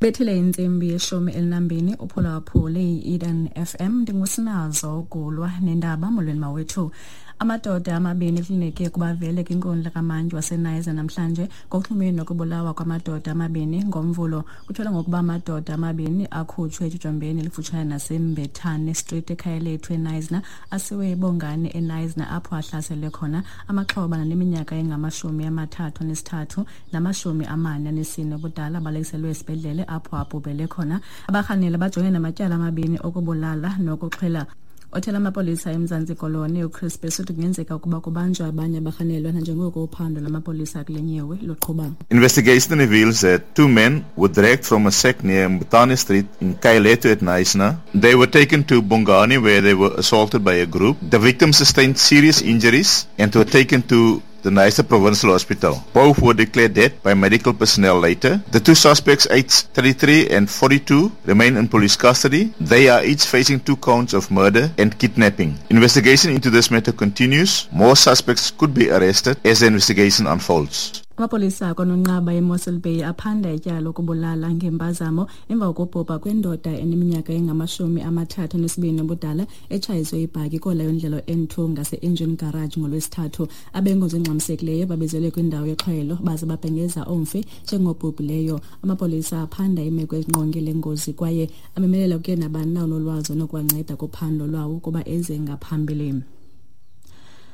Bethile intsimbi yeshumi elinambini uphulaphule i-Eden FM. Ndingusinazo Gulwa nendaba. Molweni mawethu. Amadoda amabini kulineke ukuba vele kwinkundla kamantyi waseNizer namhlanje ngokuxhumene nokubulawa kwamadoda amabini ngoMvulo. Kutyholwa ngokuba amadoda amabini akhutshwe etyotyombeni elifutshane naseMbethane Street eKhayalethu eNizer, asiwe eBongani eNizer apho ahlaselwe khona. Amaxhoba naneminyaka engama-33 nama-44 ubudala abalekiselwe esibhedlele apho abhubhele khona. Abarhanela bajongene namatyala amabini okubulala nokuxhela. Othela amapolisa eMzantsi Koloni uChris Besutu kungenzeka ukuba kubanjwe abanye abarhanelwa nanjengoko uphando lwamapolisa kule nyewe luqhuba. Investigation reveals that two men were dragged from a shack near Mbutane Street in Kailetu at Knysna. They were taken to Bongani where they were assaulted by a group. The victims sustained serious injuries and were taken to the Knysna Provincial Hospital. Both were declared dead by medical personnel later. The two suspects, aged 33 and 42, remain in police custody. They are each facing 2 counts of murder and kidnapping. Investigation into this matter continues. More suspects could be arrested as the investigation unfolds. Amapolisa akwaNonqaba eMossel Bay aphanda ityala lokubulala ngempazamo emva kokubhubha kwendoda eneminyaka engama-32 ubudala etshayiswe ibhaki kolayo ndlela N2 ngase-Engine Garage ngoLwesithathu. Abenkonzo engxamisekileyo babizelwe kwindawo yexhwelo baze babhengeza umfi njengobhubhileyo. Amapolisa aphanda imeko engqonge le ngozi kwaye amemelela kuye nabani na onolwazi onokuwanceda kuphando lwawo ukuba eze ngaphambili.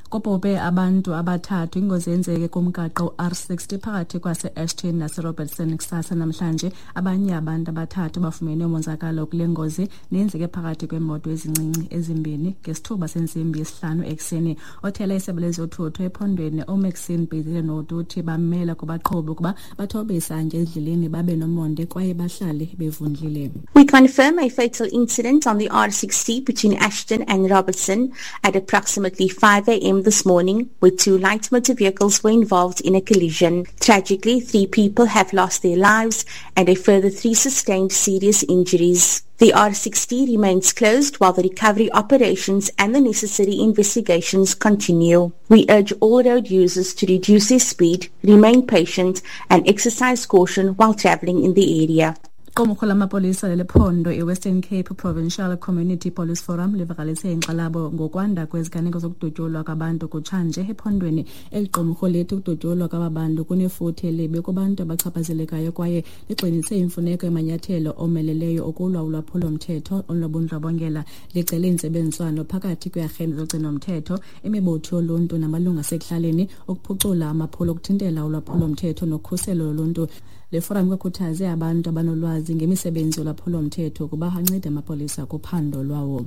Kubhubhe abantu abathathu. Ingozi yenzeke kumgaqo R60 phakathi kwase-Ashton naseRobertson kusasa namhlanje. Abanye abantu abathathu bafumene umonzakalo kule ngozi neyenzeke phakathi kweemoto ezincinci ezimbini ngesithuba sentsimbi yesihlanu ekuseni. Othela isebe lezothutho ephondweni uMaxine Bhezile Notu uthi bamela kubaqhubi ukuba bathobe isantya endleleni, babe nomonde kwaye bahlale bevundlile. We confirm a fatal incident on the R60 between Ashton and Robertson at approximately 5 a.m. this morning, where 2 light motor vehicles were involved in a collision. Tragically, 3 people have lost their lives and a further 3 sustained serious injuries. The R60 remains closed while the recovery operations and the necessary investigations continue. We urge all road users to reduce their speed, remain patient, and exercise caution while traveling in the area. Iqumrhu lamapolisa lelephondo iWestern Cape Provincial Community Police Forum livakalise inkxalabo ngokwanda kweziganeko zokudutyulwa kwabantu kutshanje ephondweni. Eli qumrhu lithi ukudutyulwa kwaba bantu kunefuthe elibi kubantu abachaphazelekayo kwaye ligxinise imfuneko yamanyathelo omeleleyo okulwa ulwaphulomthetho olunobundlobongela. Licele intsebenziswano phakathi kweearhente zogcinomthetho, imibutho yoluntu namalungu asekuhlaleni ukuphucula amaphulo okuthintela ulwaphulomthetho nokhuselo loluntu. Le forum ikhuthaze abantu abanolwazi ngemisebenzi yolwaphulomthetho ukuba ancede amapolisa kuphando lwawo.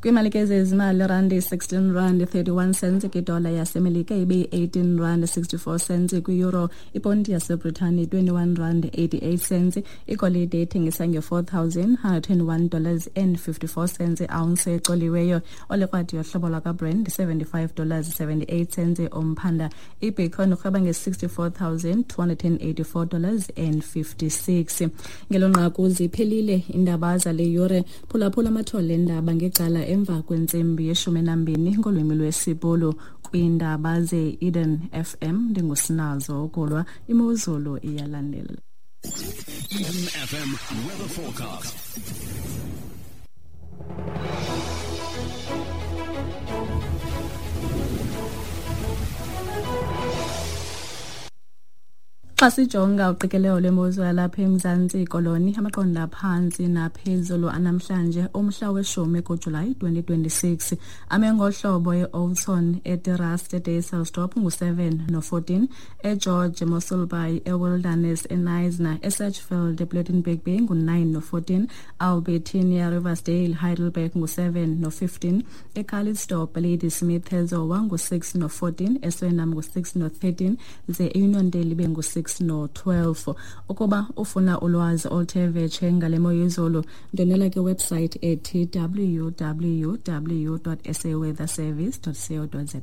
Kwiimali ke zezimali, randi 16 rand 31 cents kwidola yaseMelika, ibe 18 rand 64 cents kwi-euro, iponti yaseBritani 21 rand 88 cents, igolide ithengisa nge-$4,121 dollars and 54 cents ounce ecoliweyo, olekrwadi yohlobo lwakaBrand $75 dollars 78 cents umphanda, ibitcoin urhweba nge-$64,284 dollars and 56. Ngelo nqaku ziphelile iindaba zale yure. Phulaphula amathole endaba ngecala emva kwentsimbi yeshumi nambini ngolwimi lwesiBhulu kwiindaba ze-Eden FM. Ndingusinazo Ukulwa. Imozulu iyalandela. Eden FM weather forecast. Xa sijonga uqikelelo lwemozulu yalapha eMzantsi Koloni, amaqondo aphantsi naphezulu anamhlanje umhla weshumi kuJulayi 2026 ame ngohlobo: e-Oudtshoorn, eTerrace, eDysselsdorp ngu-7 no-14, eGeorge, Mossel Bay, eWilderness, eKnysna, eSedgefield, ePlettenberg Bay ngu-9 no-14, Albertinia, Riversdale, Heidelberg ngu-7 no-15, eCalitzdorp, Ladysmith, eZowa ngu-6 no-14, eSwellnum ngu-6 no-13, ze eUniondale ibe ngu-6 no-12. Ukuba ufuna ulwazi oluthe vetshe ngale mo yezulu, ndwendwela kwiwebsite ethi www.saweatherservice.co.za.